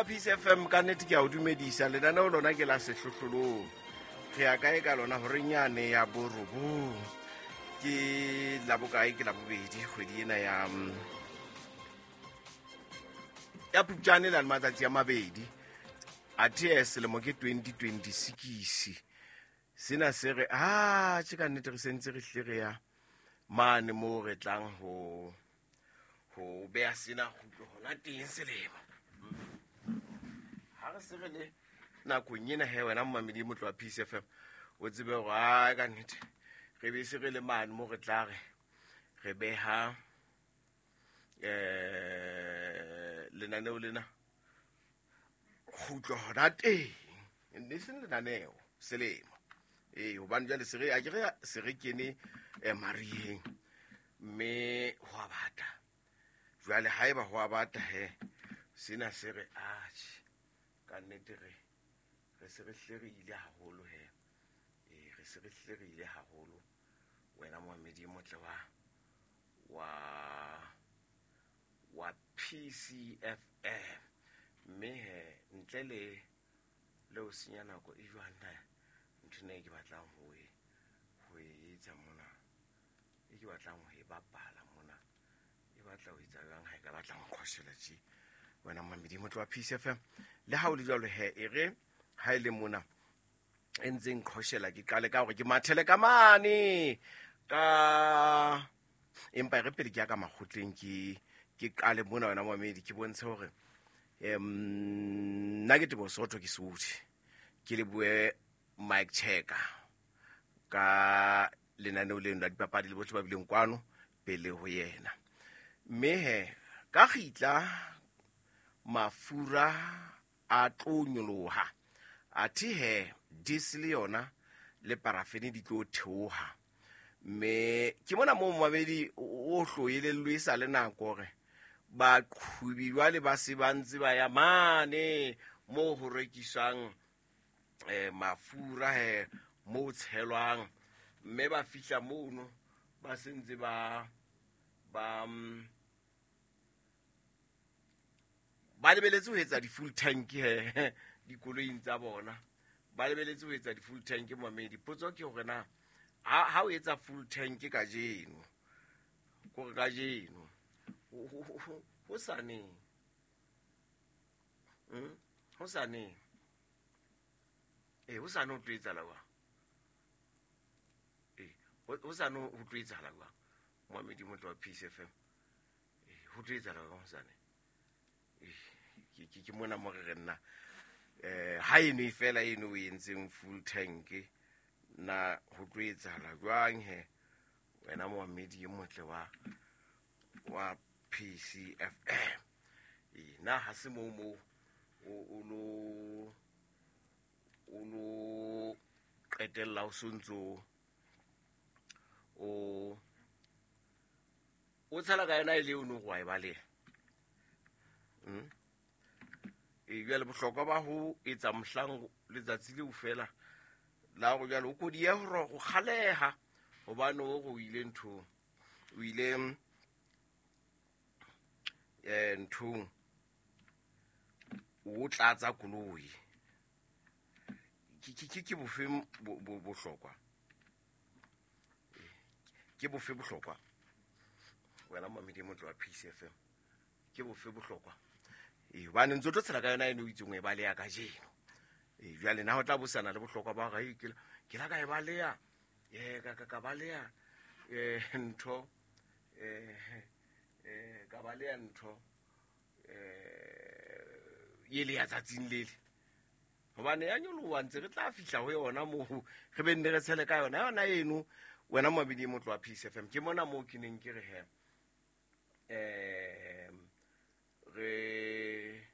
wa Peace FM, ka nnete ke a o dumedisa. Lenaneo lona ke la Sehlohlolong. Re ya kae ka lona horeng yane ya 9? Ke labokae? Ke Labobedi, kgwedi ena ya Phupjane le matsatsi a 2. Athe selemo ke 2026. Sena se re a tje ka nnete re sentse re hle re ya mane moo re tlang ho beha sena kgutlo hona teng selemo. Ha re se re le nakong ena he, wena momamedi motlo wa Peace FM, o tsebe hore a ka nnete re be se re le mane mo re tla re beha lenaneo lena kgutlo hona teng, e seng lenaneo selemo. Ee, hobane jwale se re a ke re se re kene mariheng, mme ho a bata. Jwale haeba ho a bata he, sena se re atjhe ka nnete re se re hle re ile haholo he. Ee, re se re hle re ile haholo, wena momamedi e motle wa PCFM. Mme he, ntle le ho senya nako e jwang na ntho ena e ke batlang ho e etsa mona, e ke batlang ho e bapala mona, e batla ho etsa jwang ha e ka batla nqhoshela tje, wena momamedi motlo wa Peace FM? Le ha o le jwalo he, e re ha e le mona e ntseng qhoshela, ke qale ka hore ke mathele ka mane ka, empa e re pele ke ya ka makgotleng, ke qale mona, wena momamedi, ke bontshe hore nna ke Tebo Sotho, ke Sotho. Ke le bue Mike Checker ka lenaneo leno la dipapadi le bohle ba bileng kwano pele ho yena. Mme he, ka kgitla mafura a tlo nyoloha, athe he diesel yona le parafene di tlo theoha. Mme ke mona moo momamedi o hloelellwe e sa le nako hore baqhubi jwale ba se ba ntse ba ya mane moo ho rekiswang mafura he, moo tshelwang, mme ba fihla mono ba sentse ba lebeletse ho etsa di-full tank he dikoloing tsa bona, ba lebeletse ho etsa di-full tank. Mamedi, potso ke hore na ha o etsa full tank kajeno, kore kajeno ho saneng, ho saneng, ee, ho sane ho tlo etsahala jwang? Ee, ho sane ho tlo etsahala jwang, moamedi motlo wa Peace FM? Ee, ho tlo etsahala jwang hosane? Ee, ke mona mo re re nna ha eno e fela eno o entseng full tank, na ho tlo etsahala jwang he, wena moamedi e motle wa PCFM? Ee, na ha se moo o lo qetella o sontso o tshela ka yona e le ono go a e baleha? Ee, jwale bohlokwa ba ho etsa mohlang letsatsi leo fela la gore jwale o kodiye gore go kgaleha, hobane o go ile nthong, o ile nthong o tlatsa koloi, ke bofe bohlokwa? Ke bofe bohlokwa, wena mamedi motlo wa Peace FM? Ke bofe bohlokwa? Ee, hobane ntse o tlo tshela ka yona ene o itseng o e baleha kajeno. Ee, jwale na ho tla bosana le bohlokwa ba hore ke la ka e baleha, ka baleha ntho, ka baleha ntho ele ya tsatsing lele, hobane ya nyoloha ntse re tla fihla ho yona moo re be nne re tshele ka yona eno, wena momamedi motlo wa Peace FM? Ke mona moo ke neng ke re he, re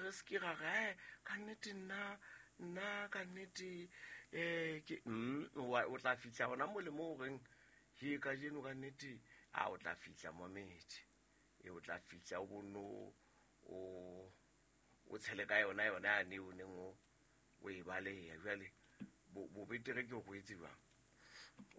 re se ke ra re ka nnete nna ka nnete ke o tla fihla hona mo le mo reng he kajeno ka nnete a o tla fihla momedi e o tla fihla o bono o tshele ka yona yane o neng o e baleha. Jwale bo betere ke go etse jwang?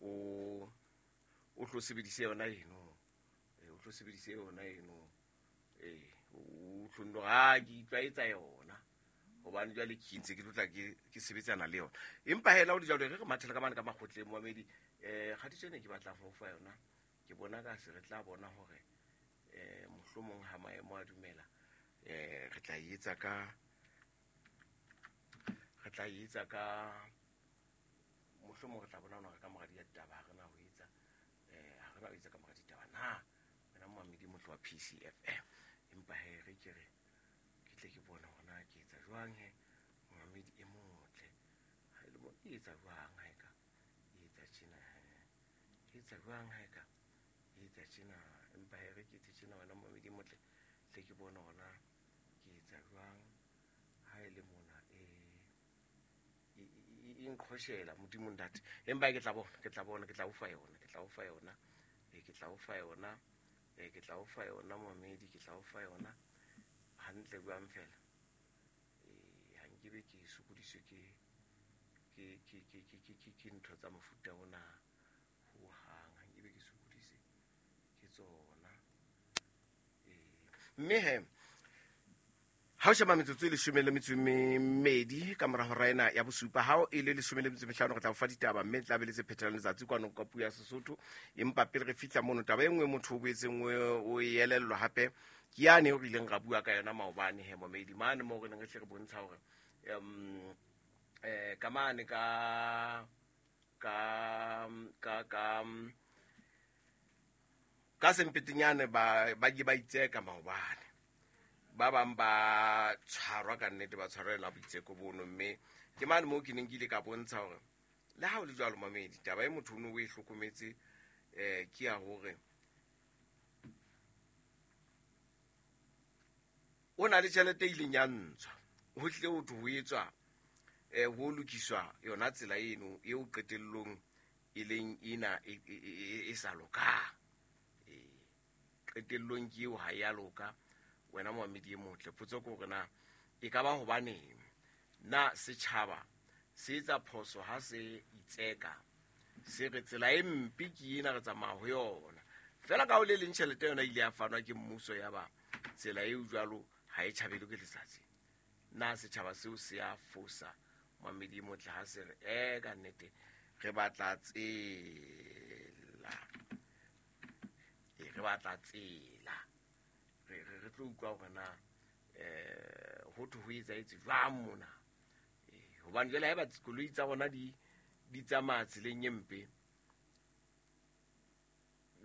O tlo sebedise yona eno. O tlo sebedise yona eno. O tlo nno ha ke itlwaetsa yona. Hobane jwale ke ntse ke tlotla ke sebetsana le yona. Empa hela o di jwalo re mathela ka mane ka makgotleng momamedi. Kgatiso ena ke batlang ho fa yona. Ke bona ka se re tla bona hore mohlomong ha maemo a dumela re tla etsa ka mohlomong re tla bona hore ka mora ditaba ha re na ho etsa ha re na ho etsa ka mora ditaba na wena momamedi motho wa PCFM. Empa he re ke re ke tle ke bone hore na ke etsa jwang he momamedi e motle. Ha e le mo e etsa jwang ha e ka e etsa tjena he e etsa jwang ha e ka e etsa tjena. Empa he re ke etse tjena wena momamedi e motle tle ke bone hore na ke etsa jwang ha e le mona e nqhoshela Modimo ntate. Empa ke tla bona ke tla bona ke tla o fa yona ke tla o fa yona ke tla o fa yona ke tla o fa yona momamedi ke tla o fa yona hantle jwang fela. Ha nkebe ke sokodiswe ke ntho tsa mofuta ona ho hang, ha nkebe ke sokodise ke tsona. Mme he ha o sheba metsotso e 12 ka mora hora ena ya bosupa, ha e le 15 re tla o fa ditaba mme tla be le tse phethelang letsatsi kwano ka puo ya Sesotho. Empa pele re fihla mono, taba e nngwe motho o boetseng o elellwa hape ke yane eo re ileng ra bua ka yona maobane he momedi mane moo re neng re hle re bontsha hore ka mane ka ka ka ka ka sempetenyane ba ke ba itseka maobane. Ba bang ba tshwarwa ka nnete, ba tshwarela boitseko bono. Mme ke mane moo ke neng ke ile ka bontsha hore le ha o le jwalo mamedi, taba e motho o no o e hlokometse ke ya hore o na le tjhelete e ileng ya ntshwa ho tle ho thwe ho etswa ho lokiswa yona tsela eno eo qetellong e leng ena e sa lokang. Qetellong ke eo ha ya loka. Wena momamedi e motle, potso ke hore na e ka ba hobaneng na setjhaba se etsa phoso ha se itseka se re tsela e mpe ke ena re tsamaya ho yona fela ka ho le leng tjhelete yona ile ya fanwa ke mmuso ya ba tsela eo jwalo ha e tjhabelwe ke letsatsi. Na setjhaba seo se a fosa momamedi e motle ha se re ka nnete re batla tsela, re batla tsela, re tlo utlwa hore na ho thwe ho etsahetse jwang mona. Hobane jwale haeba dikoloi tsa rona di tsamaya tseleng e mpe,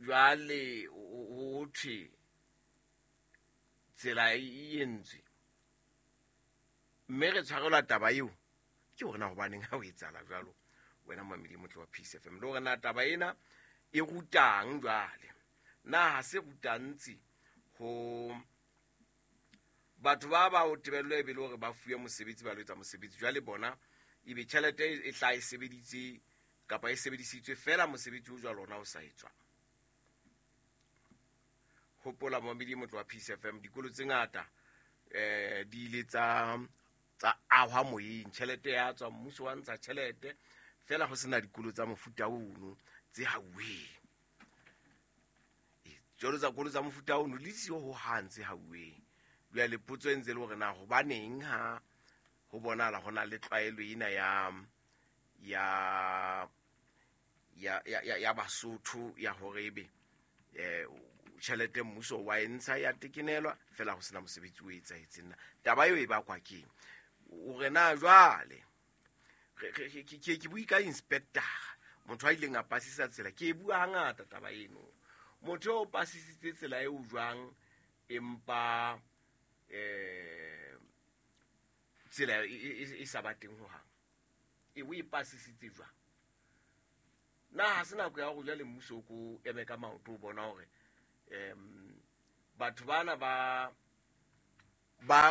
jwale ho thwe tsela e entswe mme re tshwarelwa taba eo, ke hore na hobaneng ha ho etsahala jwalo wena momamedi e motle wa Peace FM. Le hore na taba ena e rutang jwale, na ha se rutantsi ho batho ba ba o tebello e be le hore ba fuwe mosebetsi ba lo etsa mosebetsi jwale bona ebe tjhelete e tla e sebeditse kapa e sebedisitswe fela mosebetsi o jwalo ona o sa etswa. Hopola momamedi e motle wa Peace FM, dikolo tse ngata di ile tsa ahwa moyeng, tjhelete ya tswa, mmuso wa ntsha tjhelete fela ho sena dikolo tsa mofuta ono tse hauweng. Jwalo tsa kolo tsa mofuta ono le siyo ho hang tse hauweng. Jwale potso e ntse le hore na hobaneng ha ho bonahala ho na le tlwaelo ena ya Basotho ya hore ebe tjhelete mmuso wa e ntsha ya tekenelwa fela ho sena mosebetsi o etsahetseng. Na taba eo e bakwa keng? Hore na jwale ke bue ka inspector, motho a ileng a pasisa tsela, ke e bua hangata taba eno. Motho o pasisitse tsela eo jwang empa tsela e sa ba teng ho hang, e o e pasisitse jwang? Na ha se nako ya hore jwale mmuso o ko eme ka maoto o bona hore batho bana ba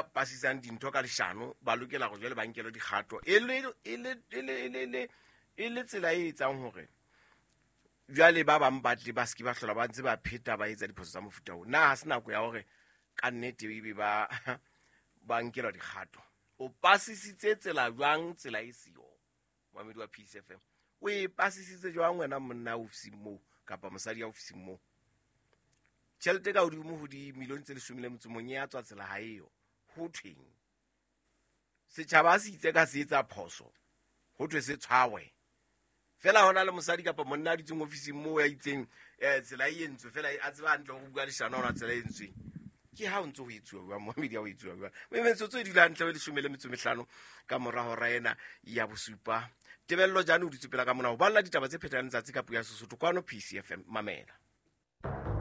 pasisang dintho ka leshano ba lokela hore jwale ba nkelwe dikgato e le tsela e etsang hore jwale ba bang ba tle ba se ke ba hlola ba ntse ba pheta ba etsa diphoso tsa mofuta oo. Na ha se nako ya hore ka nnete ebe ba nkelwa dikgato? O pasisitse tsela jwang tsela e siyo? Momamedi wa Peace FM, o e pasisitse jwang wena monna ofising moo Kapa mosadi ya ofising moo. Tjhelete ka hodimo ho dimilione tse 11 e ya tswa tsela ha eyo. Ho thweng? Setjhaba ha se itse ka se etsa phoso, ho thwe se tshwawe. Fela hona le mosadi kapa monna a dutseng ofising moo ya itseng tsela e entswe fela a tseba hantle ho bua leshano hona tsela e entsweng. Ke ha o ntse ho etsuwa jwang, mohamedi ha o etsuwa jwang. Mme metsotso e dula hantle ho 15 ka mora hora ena ya bosupa. Tebello Jane o dutse pela ka mona ho balla ditaba tse phethang letsatsi ka puo ya Sesotho kwano PCFM. Mamela.